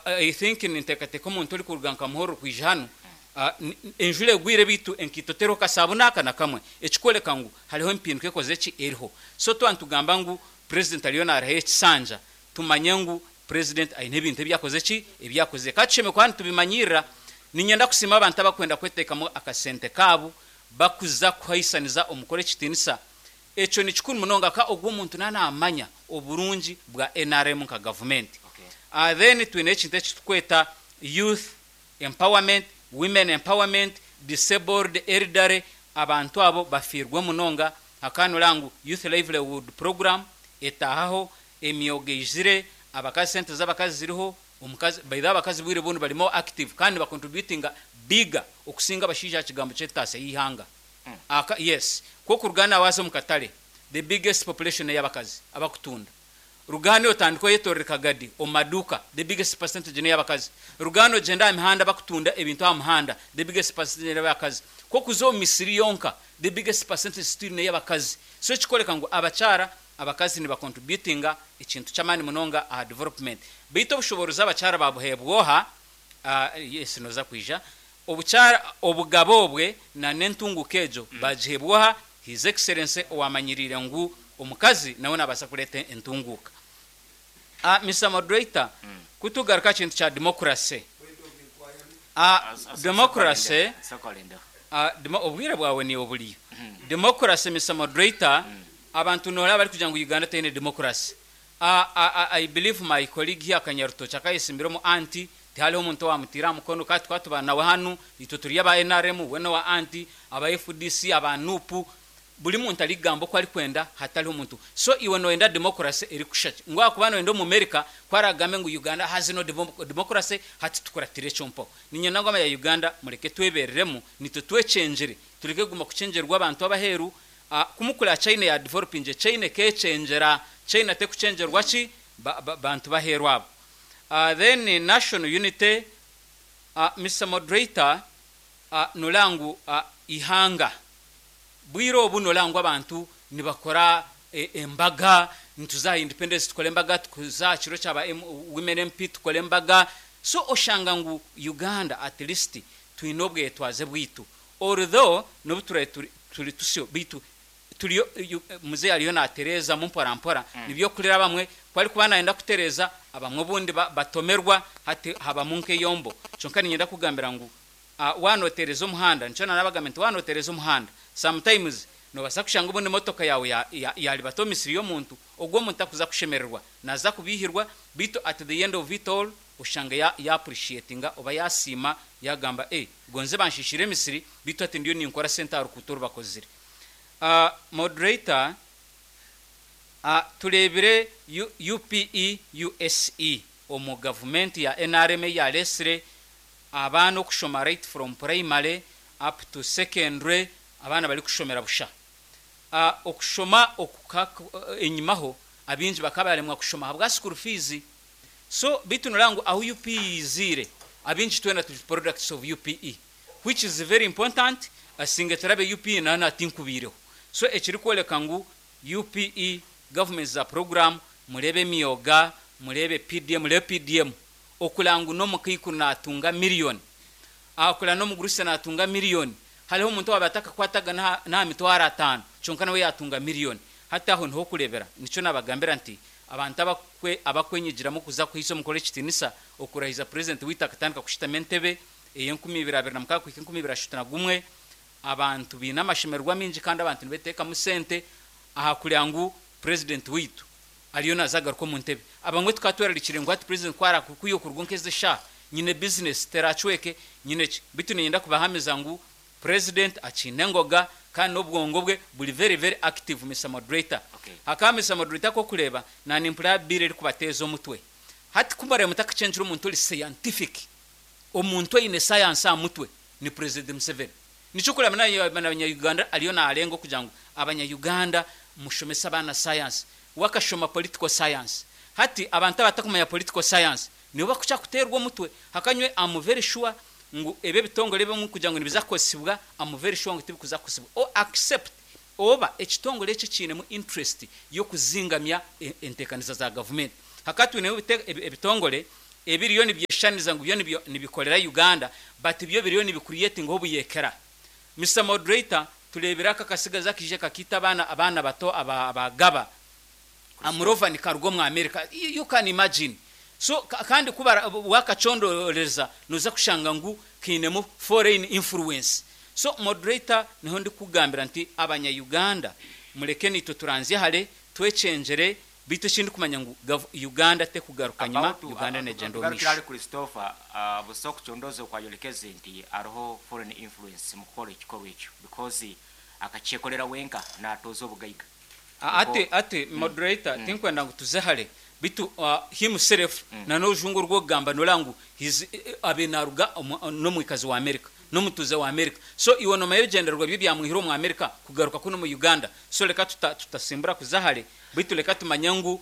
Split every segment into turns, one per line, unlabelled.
I think ninteekateeka omuntu orikuruga nka Muhorro kwija hanu, enjura egwire beitu enkaito teriho kasaabuni aka na kamwe, ekikworeka ngu hariho empinduka ekozire ki? Eriho. So twaba nitugamba ngu Purezidenti ariyo naarahayo ekisanja, tumanye ngu Purezidenti aine ebintu ebi akozire ki? Ebi akozire. Ka tushemere kuba nitubimanyiirira. Niinyenda kusiima abantu abarikwenda kweteekamu akasente kaabo bakuza kuhaisaniza omukoro ekitiinisa. Ekyo ni kikuru munonga ka ogwo omuntu naaba naamanya oburungi bwa nrm nka gavumenti. Then twine ekintu eki turikweta Youth Empowerment, Women Empowerment, Disabled, Elderly, abantu abo bafiirwe munonga. Hakaba noreeba ngu Youth Livelihood Program etaahaho, emyoga eizire, abakazi sente z'abakazi ziriho, omukazi by the way abakazi obwire obundi bari more active kandi niba contributinga bigger okusinga abashaija aha kigambo ky'entaasya y'eihanga. Aka yes kwonka orugaana waaza omu katare the biggest population n'ey'abakazi abakutunda. Rugaana otandike oyetorere kagadi omu maduuka the biggest percentage n'ey'abakazi. Rugaana ogyende aha mihanda abakutunda ebintu aha muhanda the biggest percentage n'ey'abakazi. Ku okuza omu misiri yonka the biggest percentage still n'ey'abakazi. So ekikworeka ngu abakyara, abakazi niba contributinga ekintu ky'amaani munonga aha development. Beitu obushoboorozi abakyara babuheebwa oha? Yes noza kwija. Obukyara, obugabe obwe na n'entunguka egyo bagiheebwa oha? His Excellency owamanyiriire ngu omukazi nawe nabaasa kureeta entunguuka. Mister Moderator, ku tugaruka aha kintu kya democracy, democracy, obwire bwawe niiwe oburiyo. Democracy Mister Moderator, abantu noreeba barikugira ngu Uganda teine democracy. I believe my colleague here Kanyarutoki akayesimbira omu anti, tihariho omuntu owamutiire aha mukono kandi tukaba tuba nawe hanu, itwe turi aba nrm, we n'owa anti, aba fdc, aba nup, buri muntu arikugamba oku arikwenda hatariho muntu. So iwe noyenda democracy erikushusha ki? Ngu ahakuba noyenda Omumerica ku aragambe ngu Uganda has no democracy hati tukuratire ekyo mpaho. Niinyenda ngu abanya Uganda mureke twebereremu, nitwe twekyengyere, tureke kuguma kukyengyerwa abantu abaheeru. Ku mukura China ya developingye, China ekekyengyera, China tekukyengyerwa ki? Bantu baheeru abo. Then national unity, Mister Moderator, noreeba ngu eihanga bwire obu noreeba ngu abantu nibakora embaga, nituza aha independence tukore embaga, tuza aha kiro kya ba women MP tukore embaga, so oshanga ngu Uganda at least twine obwetwaze bwaitu although nobu turabe turi tusyo beitu turiyo muzei ariyo natereezamu mpora mpora nibyo okurira abamwe ku arikuba nayenda kutereeza abamwe obundi batomerwa hati habamu nk'eyombo kyonka niinyenda kukugambira ngu waaba noteereza omuhanda nikyo nanabagambira nti waaba noteereza omuhanda sometimes nobaasa kushanga obundi emotoka yaawe yaribata omu misiri y'omuntu ogwo omuntu takuza kushemererwa naza kubiihirwa beitu at the end of it all oshanga ya appreciatinga oba yasiima yagamba eh gonze banshiishire emisiri beitu hati ndiyo ninkora sente aha rukuuto oru bakozire. Moderator, Tureebire UPE USE omu gavumenti ya nrm ei yareetsire abaana okushoma right from primary up to secondary abaana barikushomera busha. Okushoma oku enyimaho abaingi bakaba baremwa kushoma ahabwa school fees So beitu noreeba ngu ahu UPE yiziire abaingi twena turi products of UPE which is very important asinge turabe UPE nayo natinkubaireho so ekirikworeka ngu UPE government za program mureebe emyoga mureebe PDM mureebe PDM okureba ngu nomukaikuru natunga million akureba nomugurusi natunga million hariho omuntu owabaire atakakwataga naha mitwaro atano kyonka nawe yatunga million hati aho niho okurebera nikyo nabagambira nti Abantu abakwenyigiramu kuza kuhaisa omukoro ekitiinisa okurahiza Purezidenti waitu akatandika kushutama entebe ey'enkumi ibiri abiri na mukaaga kuhika enkumi ibiri ashatu na gumwe. Abantu baine amashemererwa maingi kandi abantu nibeteekamu sente aha kureba ngu Purezidenti waitu ariyo naaza kugaruka omu ntebe. Abamwe tukaba twerarikiriire ngu hati Purezidenti ku araakuruka kuruga nk'ezi eshaaha nyine bizinesi teraacweke nyine ki. Beitu niinyenda kubahamiza ngu President akiine engoga kandi nobwongo bwe buri very very active Mister Moderator. Hakaba Mister Moderator kokureeba nanimpurira bill erikubateeza omutwe. Hati kumureba mutakachengyera omuntu ori scientific, omuntu oyine science aha mutwe ni President Museveni. Nikyo okureba nabanya Uganda ariyo narenga okugira ngu abanya Uganda mushomese abaana science. We akashoma political science. Hati abantu abatakumanya political science nibo bakukya kuteerwa omutwe. Hakanywe am very sure ngu ebi ebitongore ebimwe kugira ngu nibiza kukozesibwa am very sure ngu tibikuza kukozesibwa o accept oba ekitongore eki ekiinemu interest y'okuzingamya enteekaniza za gavumenti. Hakaba twineho ebitongore Ebiriyo nibyeshaniza ngu byo nibikorera Uganda, but byo biriyo nibicreatinga obuyekera. Mr Moderator, tureebire aka akasigazi akaija kakiita abaana abaana bato aba abagaba Amurover nikaruga omu America. You can imagine. So kandi ku wakacondoreza noza kushanga ngu kainemu foreign influence. So Moderator, niho ndikukugambira nti abanya Uganda mureke naitwe turanzye hare, twekyengyere, beitu eki ndikumanya ngu Uganda tekugaruka nyima,
About
Uganda negyenda omu
tugarukire ahari
maisho.
Christopher, busa okucondoza okwayorekeze nti hariho foreign influence mukukora ekikorwa ekyo because akakyekorera wenka natooza obugaiga.
Ati
Nikwo
ati Moderator, tinkwenda ngu tuze hare, beitu himself na n'orujungu oru orikugamba noreeba ngu he's abaire naruga n'omwikazi wa America, n'omutuuze wa America. So iwe nomanya ebigyendererwa bye ebyamwihire omu America kugaruka kunu omu Uganda. So reka tutasimbura kuza hare, beitu reka tumanye ngu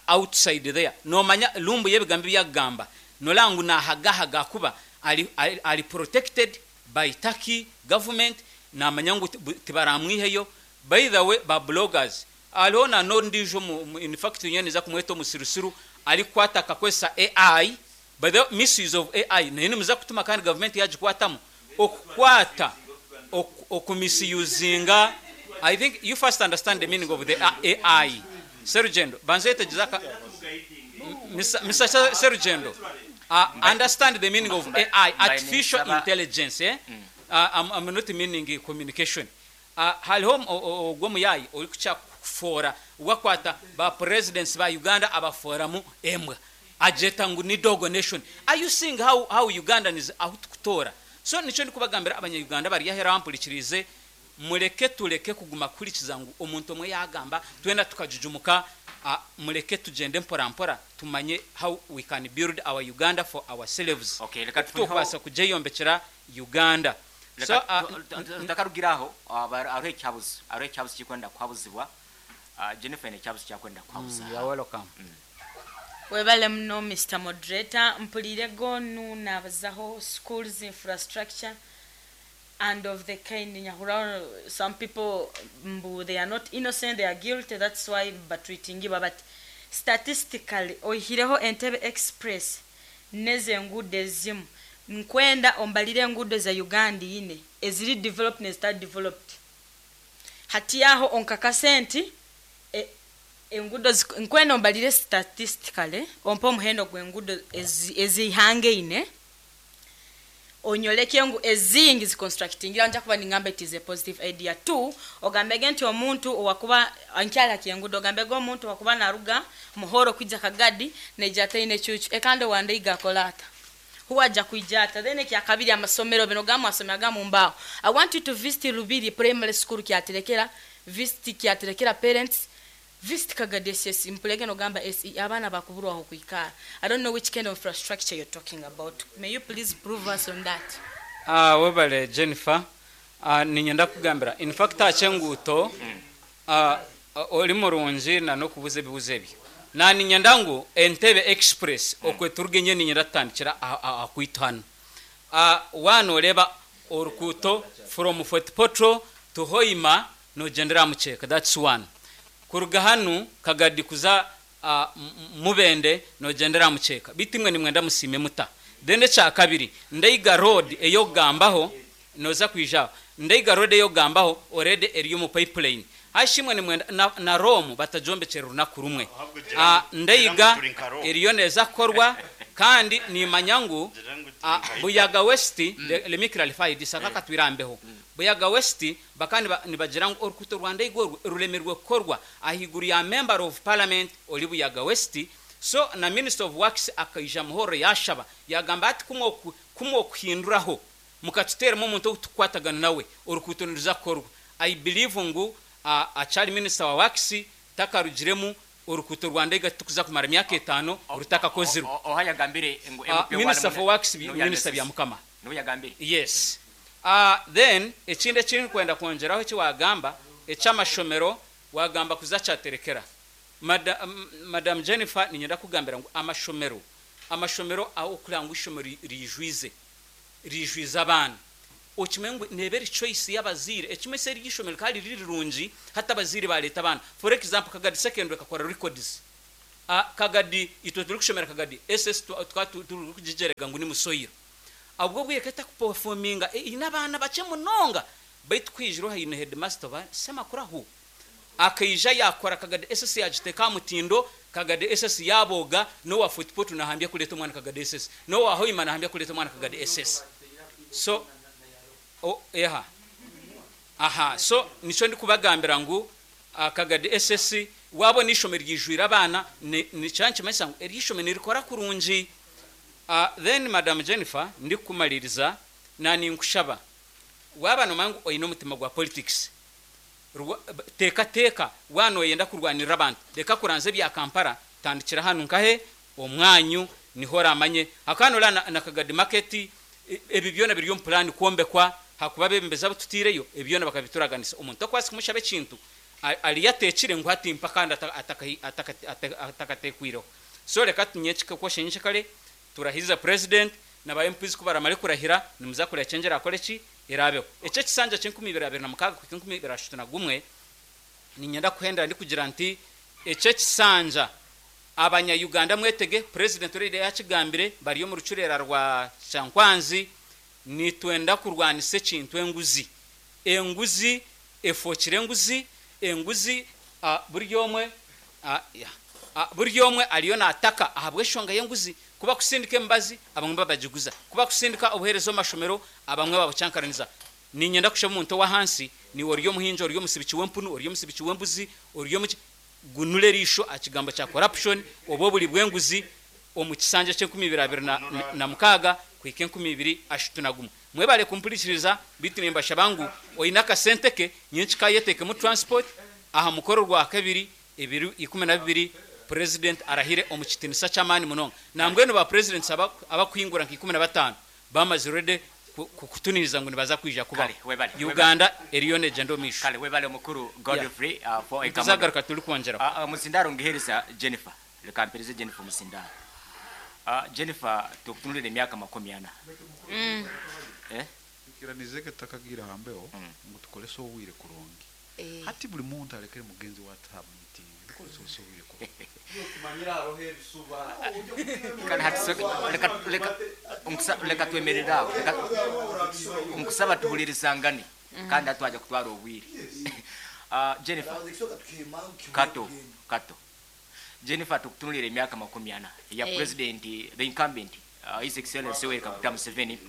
outside there. Nomanya Lumbuye ebigambo ebi arikugamba, noreeba ngu nahagahaga ahakuba ari ari protected by Turkey government, namanya ngu tibaramwiheyo. By the way, ba bloggers, hariho na n'ondiijo omu in fact nyowe ninza kumweta omusirusiru arikukwata akakozesa AI, by the way misuse of AI nayo nimuza kutuma kandi gavumenti yagikwatamu, okukwata okumisiyuzinga, I think you first understand the meaning of the AI. Serugendo, banza oyetegyereze aka, Mister Serugendo, understand the meaning of AI,
Mbaire
artificial
ninsaba
intelligence, eh? I'm not meaning communication. Hariho ogwo omuyaayi orikukira kufoora wakwata ba presidents ba Uganda abafooramu embwa agyeta ngu ni dog nation. Are you seeing how how Ugandans ahu tukutoora? So nikyo ndikubagambira abanya Uganda abari aheeru abampurikiriize mureke tureke kuguma kuhurikiza ngu omuntu omwe yagamba twena tukajujumuka mureke tugyende mpora mpora tumanye how we can build our Uganda for ourselves
Okay, reka
oku
tufuneho
tukubaasa kugyeyombekyera Uganda. So
Reka tutakarugire aho, hariho ekihabuzo, hariho ekihabuzo ekirikwenda kuhabuzibwa. Jennifer aine ekihabuzo eki arikwenda kuhabuza
You
aha.
are welcome.
Webale muno Mister Moderator, mpuriire gonu nabazaho schools infrastructure and of the kind nyahurraho some people mbu they are not innocent they are guilty that's why batreatingibwa but statistically oihireho Entebbe express N'ezo enguudo ezimu. Nkwenda ombarire enguudo za Uganda ine, eziri developed n'ezitari developed. Hati aho onkakase nti e enguudo zi nkwenda ombarire statistically, ompe omuhendo gw'enguudo ezi ez'eihanga eine, onyoreke ngu ezingi zi constructingire aho nja kuba ningamba it is a positive idea. Two, ogambege nti omuntu owakuba nkyari ha ky'enguudo, ogambege omuntu owakuba naruga Muhoro kwija Kagadi naija ataine ecuucu ekandi owa Ndeiga akole ata? Huwe aja kwija ata? Then ekyakabiri amasomero bino gamwe asomeraga mu mbaaho. I want you to visit Lubiri primary school Kyaterekera, visit Kyaterekera parents, visit Kagadi SS mpurege nogamba SE abaana bakuburwa ah'okwikara. I don't know which kind of infrastructure you're talking about. May you please prove us on that?
Webale Jennifer. Niinyenda kukugambira in fact aha ky'enguuto ori murungi na n'okubuuza ebibuuzo ebyo. Na niinyenda ngu Entebbe Express okwe turuge nyowe niinyenda tutandikire aha kwaitu hanu. Waaba nooreeba orukuuto from Fort Portal to Hoima noogyendera aha mukyeeka that's one. Kuruga hanu Kagadi kuza Mubende noogyendera aha mukyeeka. Beitu imwe nimwenda musiime muta? Then ekyakabiri, Ndeiga Road ey'okugambaho Noza kwija aho. Ndaiga road eyokugambaho already eri omu pipeline. Hashi imwe nimwenda na, na Rome batagyombekyere runaku rumwe.
Ahabwe gira ngu gira ngu
Ndaiga
turi nka Rome.
eriyo neza kukorwa kandi nimanya ngu
Gira ngu turi nka Italy.
Buyaga West, let me clarify this aka katwirambeho. Buyaga West bakaba niba, nibagira ngu orukuuto rwa Ndaiga orwo ruremirwe kukorwa ahaiguru ya Member of Parliament ori Buyaga West, so na Minister of Works akaija Muhorro yashaba yagamba ati ku mwokuhinduraho Mukatuteeramu omuntu ou tukukwatagana nawe, orukuuto niruza kukorwa. I believe ngu akyari minister wa works takarugiremu, orukuuto rwa Ndaiga titukuza kumara myaka etaano rutakakozirwe.
Oha yagambire ngu MP
Minister
owarimu
for works
niwe
minister
yaresise?
Byamukama.
Niwe yagambire?
Yes. Then ekindi eki ndikwenda kwongyeraho eki wagamba eky'amashomero, wagamba kuza Kyaterekera. Madam Jennifer niinyenda kukugambira ngu amashomero, amashomero ahu okureba ngu eishomero riijwize, riijwize abaana. Okimanye ngu neeba eri choice y'abazaire. Ekimwe se eryo eishomero rikaba riri rirungi hati abazaire baareeta abaana. For example Kagadi Secondary ekakora records. Kagadi itwe turikushomera Kagadi SS tukaba turikugigyerega ngu ni Musoyiro. Obwo obwire ekaba etakuperforminga eine abaana bakye munonga beitu ku haijire haine headmaster oba Semakurahu akaija yaakora Kagadi SS yaagiteeka aha mutindo, Kagadi SS yaabooga, n'owa Fort Portal naahambya kureeta omwana Kagadi SS, n'owa Hoima naahambya kureeta omwana Kagadi SS. So eha aha so nikyo ndikubagambira ngu Kagadi SS waabona eishomero ryijwire abaana nikyo nikimanyisa ngu eryo ishomero nirikora kurungi. Then Madam Jennifer ndikukumaririza naninkushaba waaba nomanya ngu oine omutima gwa politics teekateeka waaba noyenda kurwanirira abantu reka kuranzya ebya Kampala tandikira hanu nkahe omwanyu niho oramanye ahakuba noreeba na Kagadi market ebi byona biri omu plan kwombekwa ahakuba abebembezi abu tutiireyo ebi byona bakabituraganisa omuntu okubaasa kumushaba ekintu ariyo ateekire ngu hati mpa kandi atakateekwireho so reka nyekyekare turahize president na ba MPs kubaramare kurahira nimuza kureba change erakore ki erabeho. Eki ekisanja kyenkumi ibiri abiri na mukaaga kuhika enkumi ibiri ashatu na gumwe ninyenda kuhendera ndikugira nti eki ekisanja abanya Uganda mwetege president already yakigambire bari omu rucureera rwa Kyankwanzi nitwenda kurwanisa ekintu enguzi. Enguzi efookire enguzi, enguzi buri omwe buri omwe ariyo naataka ahabw'enshonga y'enguzi. Ku bakusindika emibazi, abamwe babagiguza. Ku bakusindika obuheereza omu mashomero, abamwe babucankaraniza. Niinyenda kushaba omuntu ow'ahansi, naiwe ori omuhingi, ori omutsibiki w'empunu, ori omutsibiki w'embuzi, ori omuki, gunura eriisho aha kigambo kya corruption oba oburi bw'enguzi omu kisanja ky'enkumi ibiri abiri na mukaaga kuhika enkumi ibiri ashatu na gumwe. Mwebare kumpurikiriza beitu nimbashaba ngu oine akasente ke nyenkika ayeteekemu transport aha mukoro Orwakabiri ebiro 12 President arahire omu kitinisa ky'amaani munonga. Nambwenu ba Presidents abakuhingura nka 15 bamazire already kukutuniriza ngu nibaza kwija kubaho.
Kale webale webale.
Uganda eriyo negyenda omu maisho.
Kale webale mukuru
Yeah.
Godfrey for
Nituza
Ekamodo.
kugaruka turikwongyeraho.
Omuzindaaro ngihereza Jennifer. Reka mpereze Jennifer omuzindaaro. Jennifer tukutunulire emyaka 40. Eh?
Twikiranize ke tutakagiire aha mbeho ngu tukorese obwire kurungi. Hati buri muntu arekere mugenzi we ati aha meeting tukorese obwire kurungi.
Kale hati soke leka leka nkusa leka twemerere aho. Leka nkusaba tuhulirizangane kandi hati twaja kutwara obwire. Jennifer Kato Kato Jennifer tukutunulire emyaka 40 ya president the incumbent His Excellency Yoweri Kaguta Museveni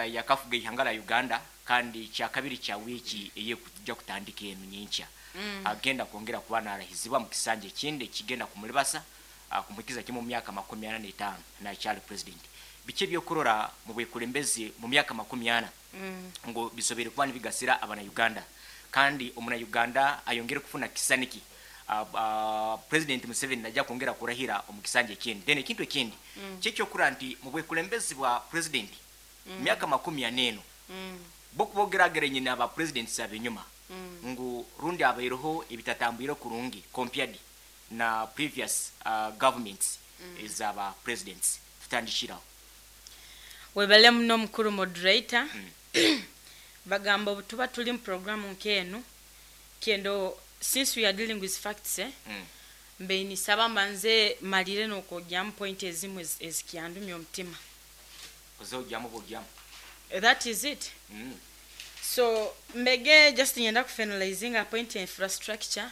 yakafuga ihanga lya Uganda kandi kyakabiri kya wiiki eyekuja kutandika enu nyenkya agenda kwongera kuba narahizibwa mu kisanja ekindi ekigenda kumulibasa kumuhikiza kimwe mu myaka 45 nakyali president. Biki ebyokurora mu bwekulembezi mu myaka 40 ngu bisoboire kuba nibigasira abana Uganda kandi omuna Uganda ayongere kufuna kisaniki President Museveni najja kwongera kurahira omu kisanja ekindi. Then ekintu ekindi kyekyokurora nti mu bwekulembezi bwa president myaka 40 eno bokubogerageranye n'aba presidents abenyuma ngu rundi abaireho ebitatambwire kurungi compared na previous governments ezaba presidents. Tutandikiraho.
Webale muno mukuru moderator. Bagamba obu tuba turi mu programu nk'enu kendo since we are dealing with facts mbe nisaba mbanze malire n'okwogyamu point ezimwe ezikyandumya omutima.
Oze ogyamu bwogyamu.
That is it. So mbege just nyenda kufinalizinga point ya infrastructure.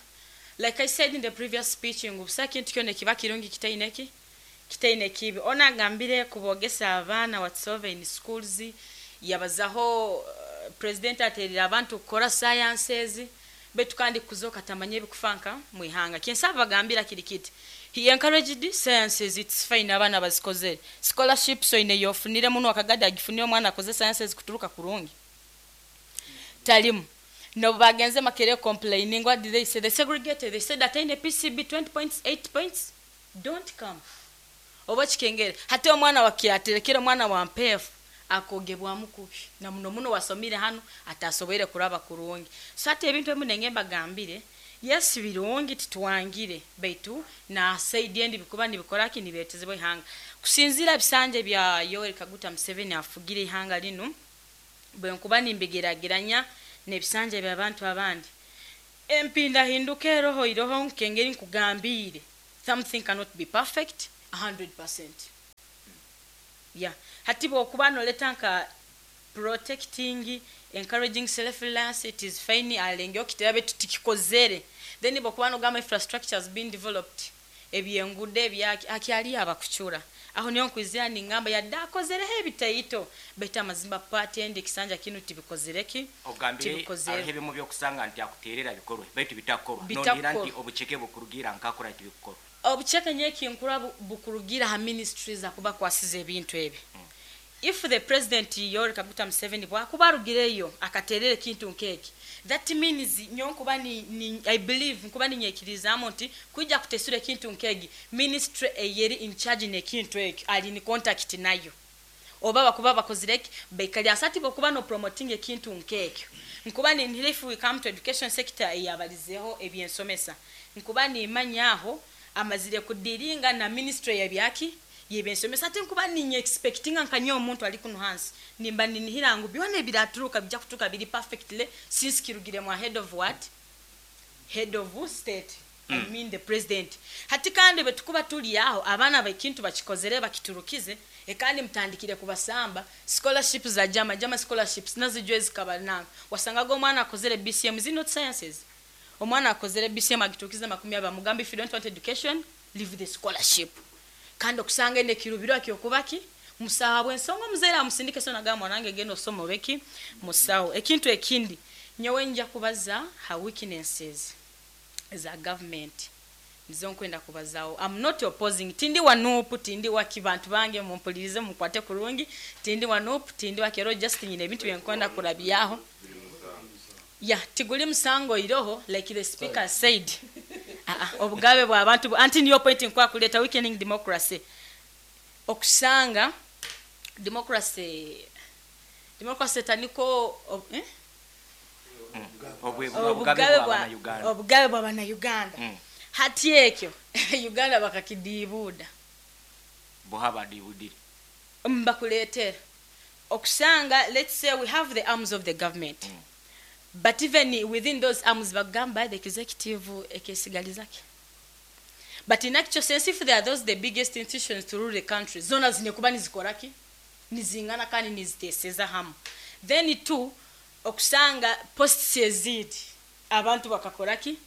Like I said in the previous speech ngu busa kintu kyona kiba kirungi kitaine ki kitaine kibi. Ona agambire kubogesa abaana whatsoever in schools yabazaho president aterera abantu kukora sciences betu kandi kuzoka tamanye bikufanka mwihanga. Kinsaba bagambira kiri kiti. He encouraged sciences, it's fine abaana bazikoze. Scholarships oine yofunire muno akagada agifunire omwana akoze sciences kuturuka kurungi. Talimu. No bagenze Makerere complaining, what did they say? They segregated. They said that in the PCB 20 points, 8 points don't come. Oba kikengere. Hati omwana wa kyaterekera omwana wa mpefu akogebwamu kubi. Na muno muno wasomire hano atasobere kuraba kurungi. So ate ebintu ebimu nenge mbagambire, yes birungi titwangire baitu na said endi bikuba nibikora ki nibetezebwe ihanga. Kusinzira bisanje bya Yoweri Kaguta Museveni afugire ihanga lino bwe nkuba nimbigerageranya n'ebisanja by'abantu abandi. Empindahinduka eroho iroho nkengeri nkugambiire, something cannot be perfect 100%. Yeah, hati bwokuba noleta nka protecting, encouraging self reliance, it is fine, alenge okitera betu tikikozere. Then bwokuba nogamba infrastructure has been developed, ebyengudo ebyaki akyali abakucura aho niyo nkwizira ningamba yadde akozereho ebitaito, baitu amazima paati endi ekisanja kinu tibikozereki.
Ogambire.
Tibikozere.
Hariho ebimu byokusanga nti akuterera bikorwe baitu bitakorwa.
Bitakorwa.
Nonira nti obucheke bukurugira nkakora tibikorwa.
Obucheke nyekinkura bukurugira ha ministries akuba kwasize ebintu ebi. If the president Yoweri Kaguta Museveni bwakuba arugireyo akaterera ekintu nkeki, that means nyo nkuba ni I believe nkuba ninyekirizaamu nti kwijja kutesura ekintu nkegi, ministry eyeri in charge n'ekintu ekyo ali ni contact nayo, oba bakuba bakozireki baikali asati bokuba no promoting ekintu nkekyo. Nkuba ninhira if we come to education sector eyabalizeho ebyensomesa, nkuba nimanyaho amazire kudiringa na ministry yabyaki yebyensomesa, ate nkuba ninye expectinga nkanya omuntu ali kuno hansi nimba ninhira ngu byona ebiraturuka bijja kuturuka biri perfectly since kirugire mu head of what, head of state. I mean the president. Hati kandi betukuba tuli aho abaana bekintu bakikozere bakiturukize, kandi mutandikire kubasamba scholarships za jama jama scholarships nazijwe zikaba nanga wasangaga omwana akozere BCM is not sciences, omwana akozere BCM agiturukize 20, mugambe if you don't want education leave the scholarship. Kandi okusanga ende kirubiro akyokubaki musaha bwensonga omuzaire amusindike so nagamba mwanange genda osoma obeki musawo. Ekintu ekindi nyowe nja kubaza ha weaknesses za government nizo nkwenda kubazawo. I'm not opposing, tindi wa NUP, tindi wa kibantu bange mumpulirize mukwate kurungi, tindi wa NUP, tindi wa kero, just nyine ebintu byenkwenda kurabyaho. Yeah, tiguli musango iroho like the speaker said. Obugabe bwa abantu anti niyo point nkwa kuleta weakening democracy. Okusanga democracy taniko
Obugabe bwa Uganda.
Obugabe bwa bana Uganda. Hati ekyo Uganda bakakidibuda.
Bohaba dibudire.
Mbakuletera. Okusanga let's say we have the arms of the government. But even within those arms bagamba the executive ekesigalizake. But in actual sense if they are those the biggest institutions to rule the country, zona zinekuba nizikoraki nizingana kandi niziteseza hamu. Then two okusanga posts ezidi abantu bakakoraki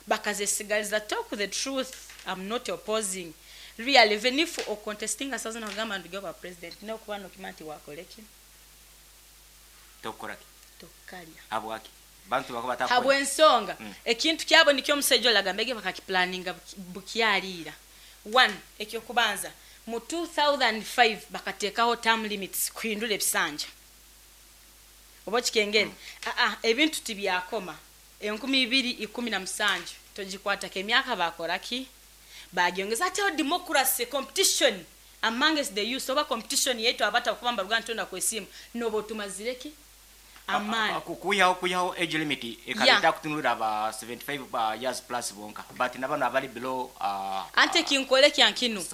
bakazesigaliza. Talk the truth, I'm not opposing. Really, even if o contesting asazo nagamba nduge ba president no kuba no kimanti wakoleki
tokoraki
tokalya
habwaki bantu bakuba takora
habwensonga. Ekintu kyabo nikyo omusajja olagambege bakakiplaninga bukyaliira. One, ekyokubanza mu 2005 bakateekaho term limits kuhindura ebisanja oba kikengere. Ebintu tibyakoma 2017 togikwatako emyaka bakoraki bagyongeza. Ate democracy competition amongst the youth oba competition yetu abata kuba mbaruga ntonda kwesimu nobo tumazireki amani
kuyaho age limit ekaleta kutunura ba 75 years plus bonka but nabano abali below
ate kinkole kyankinu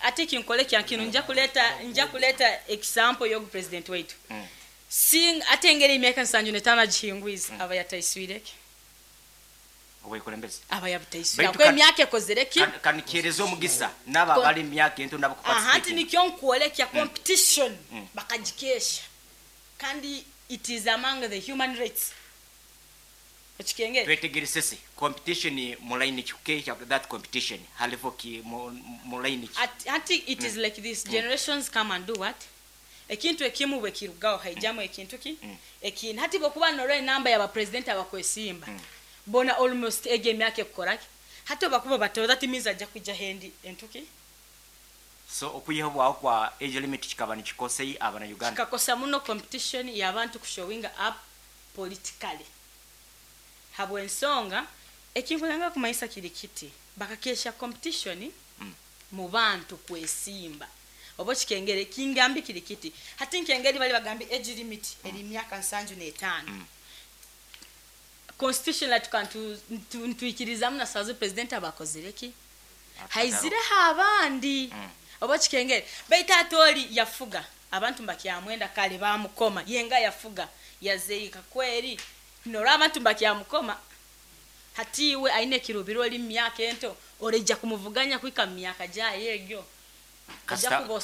ate kinkole kyankinu nja kuleta example yo president wetu. Sing ate engeri emyaka 75 gihingwiza aba yataiswireke
owekulembeze
aba yabutaiswira kwa emyaka ekozereki
kanikyerezo omugisa naba bali emyaka ento nabo
kuparticipate. Anti nikyo nkwolekya competition bakagikesha kandi it is among the human rights. Ekikengere
twetegeresese competition mu line kikesha that competition halivo ki mu line
anti it is like this generations come and do what ekintu ekimu bwe kirugaho haijamu ekintu ki ekintu hati bokuba noro namba ya ba president abakwesimba bona almost ege emyaka ekukoraki hati bakuba bato that means ajja kujja hendi entuki.
So okuyihabwaho kwa age limit kikaba nikikosei abana Uganda
kikakosa muno competition y'abantu kushowing up politically. Habwensonga ekinkulanga kumayisa kiri kiti bakakesha competition mu bantu kwesimba oba kikengere kingambi kiri kiti hati nkengeri bali bagambi age limit eri myaka 75. Constitution la tukantu ntuikirizamu na sazo president abakozereki haizireho abandi oba kikengere baita atori yafuga abantu mbakyamwenda kale bamukoma yenga yafuga yazeika kweri nora abantu mbakyamukoma. Hati iwe aine ekirubiro ori mu myaka ento, oraija kumuvuganya kuhika mu myaka gyayo egyo? Ojja
Kasita
kuba.